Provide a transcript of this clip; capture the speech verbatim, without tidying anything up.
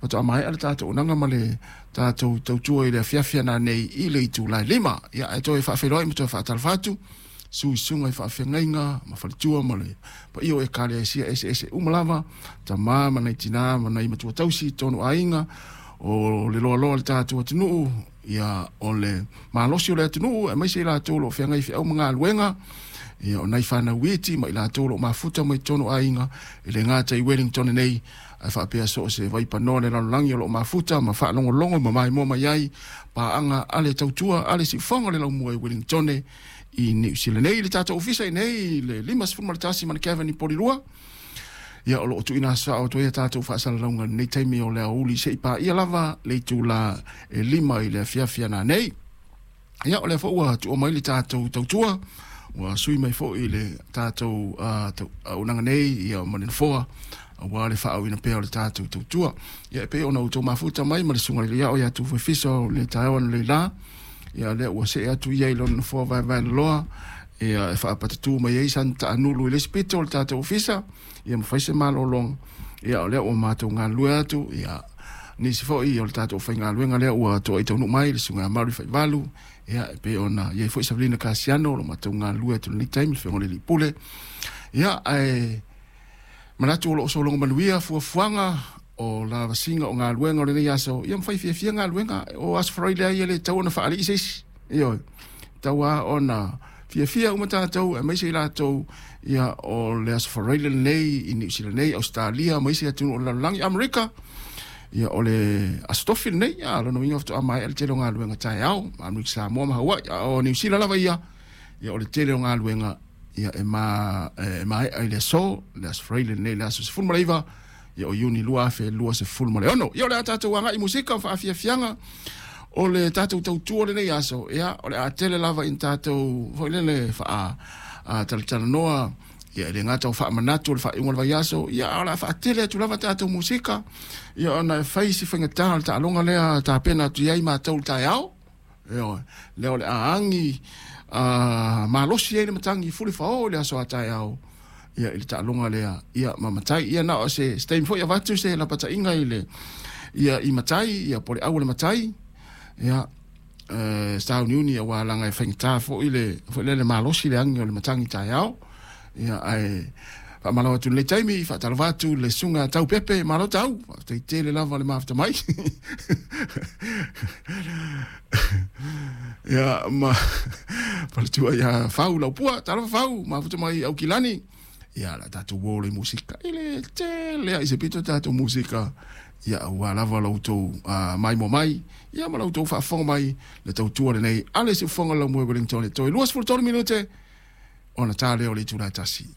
Faatoa maea le tatou auaunaga ma le tatou tautua i le afiafi ana nei i le itula e lima. Ia ae toe faafeiloai ma toe faatalofa atu suisuga i faafeagaiga ma faletua ma le paia o ekalesia eseese uma lava, tama ma nai tina ma nai matua tausi tonu aiga o le loaloa o le tatou atunuu, ia o le malosi o le atunuu aemaise i latou o lo o feagai feau ma galuega, ia o nai fanau iti ma i latou o lo o mafuta mai totonu aiga e le gata i Wellington nei ae faapea so o se vaipanoa le lalolagi o lo o mafuta ma faalogologo ma maimoa mai ai paaga a le tautua a le siufofoga o le laumua i Wellington i Niu Sila nei. Le tatou ofisa i nei le lima tasi ma le Kevin i Polilua. Ia o lo o tuuina aso atu ai a tatou faasalalauga i lenei taimi o le aoauli se i paia lava le itula e lima i le afiafi ana nei. Ia o lea foi ua tuua mai le tatou tautua, ua sui mai foi le tatou auaunaga nei ia ma le nofoa aua le faaauauina pea o le tatou tautua. Ia e pei ona outou mafuta mai ma le susuga i le Iao ia Tufuefisa o le taeao analeila. Ia lea ua see atu ia i lona nofoa vaevaeloloa ia e faapatatu mai ai sana taanulu i le isi pito o le tatou ofisa ia ma fai se malologa. Ia o lea ua matou galulue atu ia nisi foi o le tatou faigaluega lea ua toai taunuu mai le susuga ia Maru Faivalu, ia e pei ona i ai foi Savelina Kasiano o lo matou galulue atu i lenei taimi, le Afioga i le Alii Pule. Ia ae manatu o lo o sologa manuia fuafuaga o lavasiga o galuega o lenei aso, ia ma fai fiafia galuega o Aso Faraile ai e le tatau ona faalii se isi. Ioe, tatau lava ona fiafia uma tatou aemaise i latou ia o le Aso Faraile lenei i Niu Sila nei, Ausetalia ma isi atunuu o le lalolagi, Amerika. Ia o le Aso Tofi lenei, ia lona uiga faatoa maea le tele o galuega taeao, Amerika Samoa ma Hawaii, a o Niu Sila lava ia, ia o le tele o galuega ia e ma e maea i le aso, le Aso Faraile lenei, le aso sefulu ma le iva, ia o Iuni lua afe luasefulu ma le ono. Ia o le a tatou agai i musika ma faafiafiaga o le tatou tautua lenei aso, ia o le a tele lava ina tatou foi lele faa talatalanoa, ia e le gata o faamanatu o le faaiuga o le vaiaso, ia o le a faatele atu lava tatou musika, ia ona e fai si faigata o le taaloga lea tapena atu i ai matou le taeao. Ioe, lea o le a agi a malosi ai le matagi fulifao i le aso a taeao, ia i le taaloga lea, ia ma matai, ia na o se se taimi foi avatu se lapataiga i le ia i matai, ia po o le au o le matai, ia e sauniuni aua laga e faigata foi le foi lele malosi le agi o le matagi taeao. Ia ae faamalo atu i lenei taimi, faatalofa atu le susuga Tau Pepe, malo tau, faafetai tele lava le mafuta mai. Ia ma faletua ia Fau Laupua, talofa Fau, mafuta mai Aukilani. Ia la tatou uo le musika i le tele ai se pito tatou musika, ia aua lava la outou uh, maimoa mai, ia ma la outou faafofoga mai le tautua lenei a le siufofoga o le laumua i Wellington. E toe luasefulu tolu minute ona ta lea o le itula e tasi.